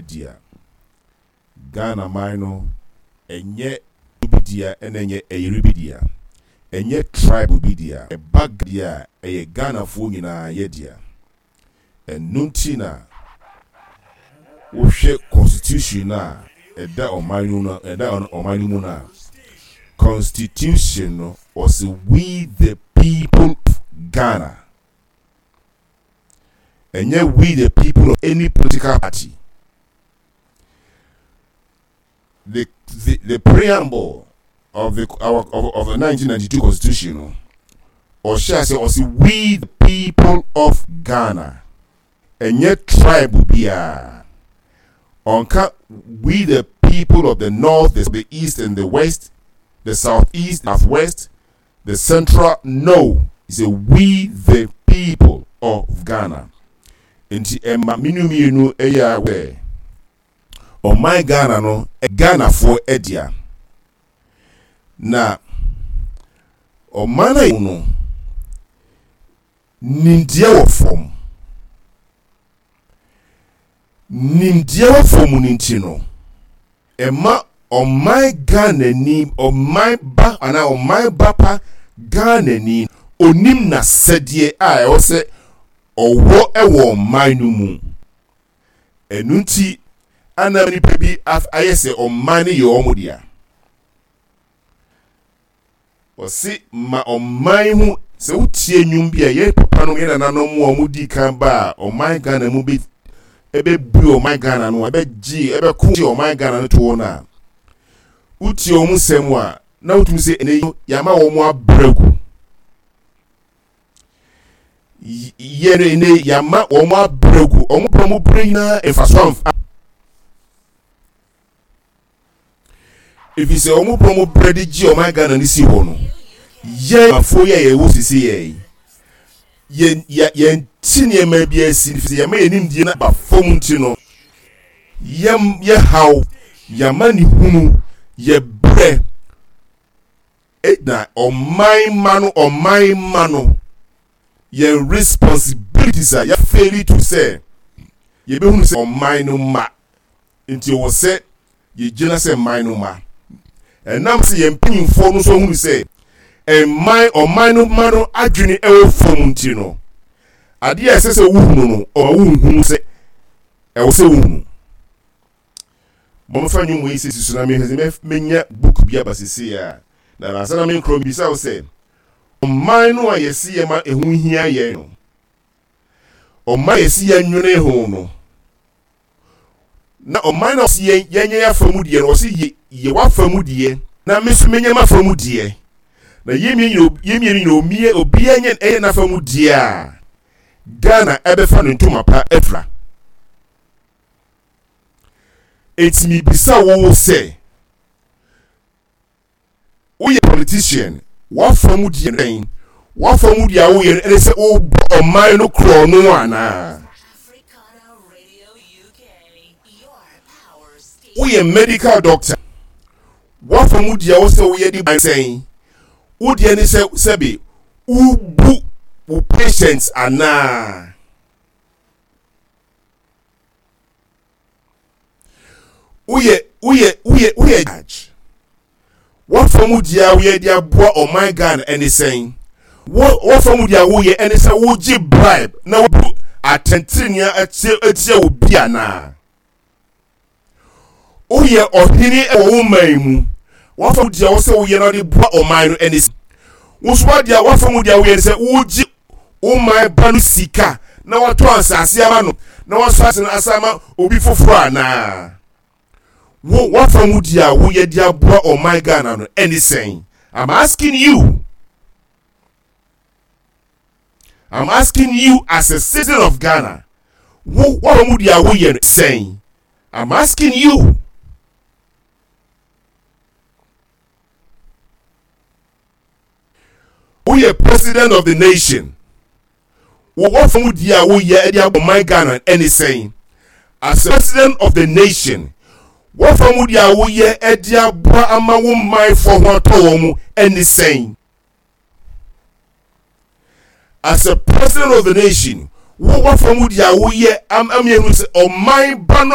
dea. Ghana man no ɛnyɛ obi dea ɛna ɛnyɛ ɛyere bi dea. Ɛnyɛ tribe bi dea. Ɛba deɛ a, ɛyɛ Ghanafoɔ nyinaa yɛ dea. Ɛno nti na wohwɛ constitution no a ɛda ɔman no no ɛda ɔman no mu no a, constitution no ɔse we the people of Ghana. Ɛnyɛ we the people of any political party. The preamble of the our of the 1992 constitution no, ɔhyɛ ase ɔsi we the people of Ghana. Ɛnyɛ tribe biara. Ɔnka we the people of the north, the east and the west, the southeast, southwest, the central. No, it's a we the people of Ghana. Nti ɛma menu mmienu ɛyɛ awɛ. Ɔman Ghana no Ghanafoɔ dea. Na ɔman a no nimdeɛ wɔ fam. Nimdeɛ wɔ fam no nti no, ɛma ɔman Ghanani, ɔman ba anaa ɔman ba pa Ghanani onim n'asɛdeɛ a ɛwɔ sɛ ɔwɔ wɔ ɔman no mu. Ɛno nti ana nnipa bi ayɛ sɛ ɔman no yɛ wɔn dea. Ɔse ma ɔman ho sɛ wotie nnwom bi a yɛn papa nom yɛn nananom a wɔn di kan ba a ɔman Ghana mu bɛ ɛbɛbue ɔman Ghana no ɛbɛgye ɛbɛko gye ɔman Ghana no toɔ no a wotie wɔn nsɛm a na wotumi sɛ ɛnɛ yi yɛama wɔn abrɛ gu. Yɛ no ɛnɛ yɛama wɔn abrɛ gu wɔn brɛ wɔn brɛ nyinaa mfaso amfa ɛfiri sɛ wɔn brɛ wɔn brɛ de gye ɔman Ghana no si hɔ no yɛn afoɔ yi a yɛwɔ sisi yɛ yɛn yɛn ti nneɛma bi asi ɛfiri sɛ yɛma yɛn nimdeɛ no ba fam nti no yɛn yɛ haw yɛama ne hunu yɛ brɛ Na ɔman mma no ɔman mma no yɛn responsibilities a yɛafeeli to sɛ yɛbɛhunu sɛ ɔman no mma nti ɛwɔ sɛ yɛgyina sɛ man no mma. Ɛnam sɛ yɛn mpanyinfoɔ no nso ahunu sɛ ɛman ɔman no mma no adwene ɛwɔ fam nti no, adeɛ a ɛsɛ sɛ wohunu no ɔma wonhunu sɛ ɛwɔ sɛ wohunu. Momfa nnwom yi sisi so na mehwɛ sɛ menya book bi aba sesei a. Na ansa na menkorɔ mebisa wo sɛ, ɔman no a yɛse yɛma ɛho hia yɛn no, ɔman a yɛse yɛnwene ho no, na ɔman no a ɔse yɛnyɛ yɛafa mu deɛ no, ɔse yɛ yɛ w'afa mu deɛ na me nso menyɛ m'afa mu deɛ, na yɛn mmienu nyina omie obiara nyɛ ɛyɛ n'afa mu deɛ a, Ghana ɛbɛfa ne ntoma pa afira. Enti mebisa wo sɛ, woyɛ politician, w'afa mu deɛ dɛn? W'afa mu deɛ a woyɛ no ɛne sɛ wobɔ ɔman no korɔ no anaa? Woyɛ medical doctor, w'afa mu deɛ wo sɛ woyɛ de ban sɛn? Wo deɛ ne sɛ sɛbe wobu wo patients anaa? Woyɛ woyɛ woyɛ woyɛ judge. W'afa mu deɛ a woyɛ de aboa ɔman Ghana ɛne sɛn? Wo w'afa mu deɛ a woyɛ ɛne sɛ wogye bribe na wobu atɛntrenee atia atia obi anaa? Woyɛ ɔhene wɔ wo man mu. W'afa mu deɛ wɔ sɛ woyɛ na wode boa ɔman no ɛne sɛ wo nso w'adeɛ w'afa mu deɛ woyɛ ne sɛ wogye wo man ba no sika na watɔ asase ama no na wasɔ ase no asa ama obi foforɔ anaa? Wo w'afa mu deɛ a woyɛ de aboa ɔman Ghana no ɛne sɛn? I'm asking you. I'm asking you as a citizen of Ghana. Wo w'afa mu deɛ a woyɛ no sɛn? I'm asking you. Woyɛ president of the nation. Wo w'afa mu deɛ a woyɛ de abɔ man Ghana ɛne sɛn? As a president of the nation, w'afa mu deɛ a woyɛ de aboa ama wo manfoɔ ho atɔ wɔn mu ɛne sɛn? As a president of the nation, wo w'afa mu deɛ a woyɛ ama yɛhunu sɛ ɔman ba no a.